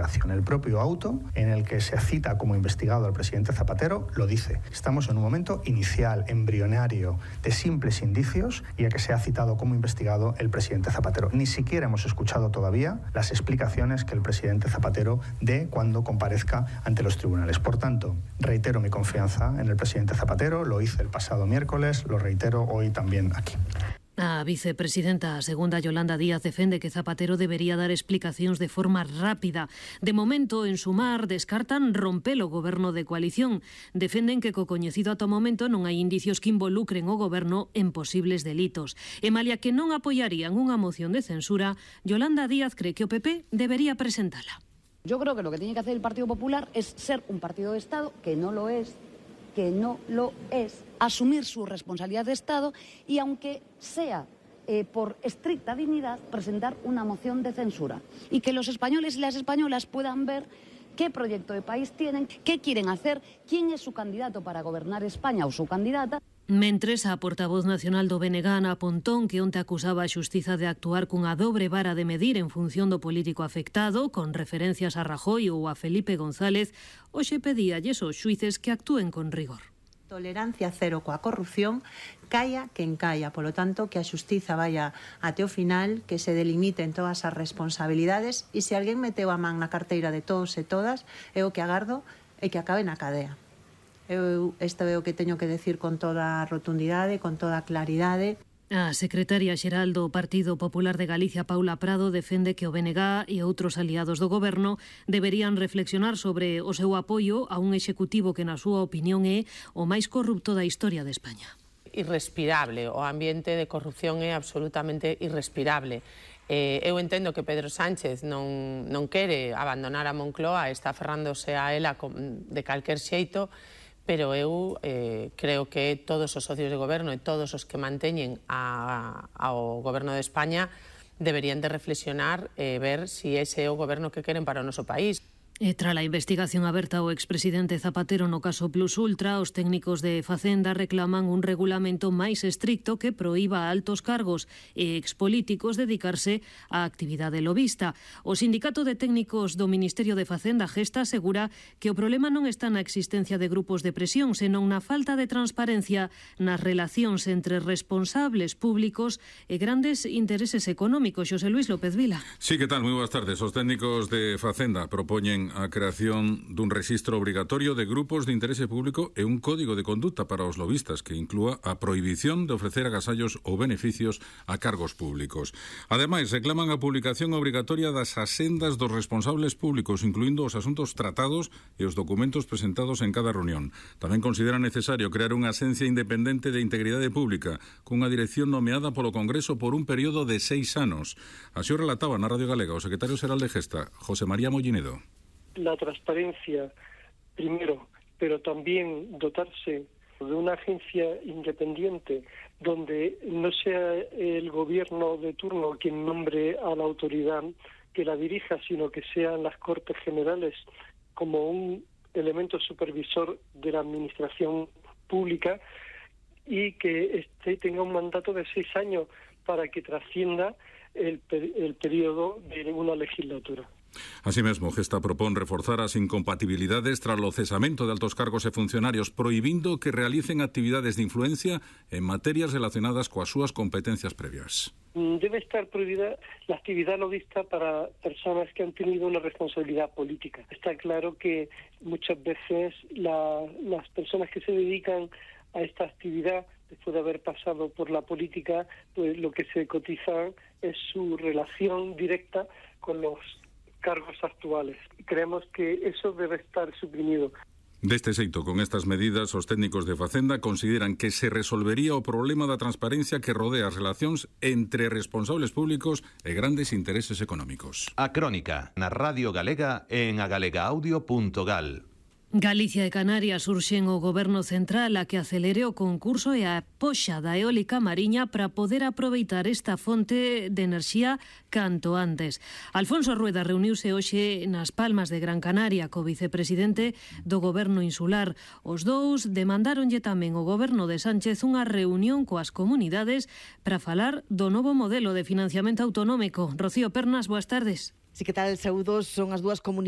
investigación. El propio auto en el que se cita como investigado al presidente Zapatero lo dice. Estamos en un momento inicial, embrionario, de simples indicios y a que se ha citado como investigado el presidente Zapatero. Ni siquiera hemos escuchado todavía las explicaciones que el presidente Zapatero dé cuando comparezca ante los tribunales. Por tanto, reitero mi confianza en el presidente Zapatero, lo hice el pasado miércoles, lo reitero hoy también aquí. A vicepresidenta segunda Yolanda Díaz defende que Zapatero debería dar explicacións de forma rápida. De momento, en Sumar, descartan romper o goberno de coalición. Defenden que co coñecido ata o momento non hai indicios que involucren o goberno en posibles delitos. E malia que non apoyarían unha moción de censura, Yolanda Díaz cree que o PP debería presentala. Yo creo que lo que tiene que hacer el Partido Popular es ser un partido de Estado, que no lo es, asumir su responsabilidad de Estado y, aunque sea por estricta dignidad, presentar una moción de censura. Y que los españoles y las españolas puedan ver qué proyecto de país tienen, qué quieren hacer, quién es su candidato para gobernar España o su candidata. Mentres, a portavoz nacional do BNG, Ana Pontón, que onte acusaba a xustiza de actuar cunha dobre vara de medir en función do político afectado, con referencias a Rajoy ou a Felipe González, hoxe pedíalles aos xuíces que actúen con rigor. Tolerancia cero coa corrupción, caia quen caia. Polo tanto, que a xustiza vaya até o final, que se delimiten todas as responsabilidades e se alguén meteu a man na carteira de todos e todas, é o que agardo é que acabe na cadea. Isto é o que teño que decir con toda rotundidade, con toda claridade. A secretaria xeral do Partido Popular de Galicia, Paula Prado, defende que o BNG e outros aliados do goberno deberían reflexionar sobre o seu apoio a un executivo que, na súa opinión, é o máis corrupto da historia de España. Irrespirable, o ambiente de corrupción é absolutamente irrespirable. Eu entendo que Pedro Sánchez non quere abandonar a Moncloa, está aferrándose a ela de calquer xeito, pero eu creo que todos os socios de goberno e todos os que manteñen ao goberno de España deberían de reflexionar e ver se ese é o goberno que queren para o noso país. E tras a investigación aberta ao expresidente Zapatero no caso Plus Ultra, os técnicos de Facenda reclaman un regulamento máis estricto que proíba a altos cargos e expolíticos dedicarse á actividade lobista. O Sindicato de Técnicos do Ministerio de Facenda, Gesta, asegura que o problema non está na existencia de grupos de presión, senón na falta de transparencia nas relacións entre responsables públicos e grandes intereses económicos. Xosé Luis López Vila. Sí, que tal? Moi boas tardes. Os técnicos de Facenda propoñen a creación dun rexistro obrigatorio de grupos de interese público e un código de conduta para os lobistas que inclúa a prohibición de ofrecer agasallos ou beneficios a cargos públicos. Ademais, reclaman a publicación obrigatoria das asendas dos responsables públicos, incluindo os asuntos tratados e os documentos presentados en cada reunión. Tamén consideran necesario crear unha axencia independente de integridade pública cunha dirección nomeada polo Congreso por un período de 6 anos. Así o relataba na Radio Galega o secretario xeral de Gesta, José María Mollinedo. La transparencia, primero, pero también dotarse de una agencia independiente donde no sea el gobierno de turno quien nombre a la autoridad que la dirija, sino que sean las Cortes Generales como un elemento supervisor de la administración pública y que tenga un mandato de 6 años para que trascienda el periodo de una legislatura. Así mesmo, Gesta propón reforzar as incompatibilidades tras o cesamento de altos cargos e funcionarios, prohibindo que realicen actividades de influencia en materias relacionadas coas súas competencias previas. Debe estar prohibida la actividad lobista para personas que han tenido una responsabilidad política. Está claro que muchas veces las personas que se dedican a esta actividad, después de haber pasado por la política, pues lo que se cotiza es su relación directa con los cargos actuales. Creemos que eso debe estar suprimido. Deste xeito, con estas medidas, os técnicos de Facenda consideran que se resolvería o problema da transparencia que rodea as relacións entre responsables públicos e grandes intereses económicos. A Crónica, na Radio Galega en agalegaudio.gal. Galicia e Canarias urxen o Goberno Central a que acelere o concurso e a poxa da eólica mariña para poder aproveitar esta fonte de enerxía canto antes. Alfonso Rueda reuniuse hoxe nas Palmas de Gran Canaria co vicepresidente do Goberno Insular. Os dous demandáronlle tamén ao Goberno de Sánchez unha reunión coas comunidades para falar do novo modelo de financiamento autonómico. Rocío Pernas, boas tardes. Sí, que tal, saúdos, son as dúas comunidades